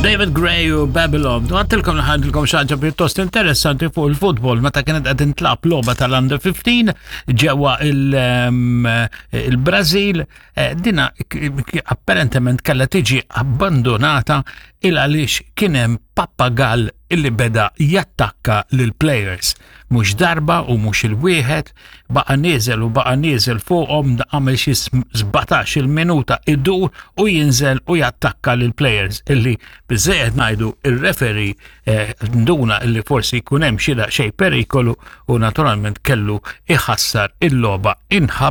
David Gray u Babylon. Għattilkom li ħadilkom xaġa pjuttost interessanti fuq il-futbol meta kienet qed intlab logħba tal-Under 15 ġewwa il-Brażil. Dina apparentement kellha tiġi abbandonata il għaliex kien hemm pappagall illi beda jattakka lil players. Mhux darba u mhux il-wieħed, baqa' nieżel u baqa' nieżel fuqhom għamel xi 17 il-minuta idur u jinżel u jattakka lil players illi biżejjed ngħidu ir-referee eh, nduna illi forsi jkun hemm xi daqsxejn perikolu u naturalment kellu iħassar il-logħba inħabba.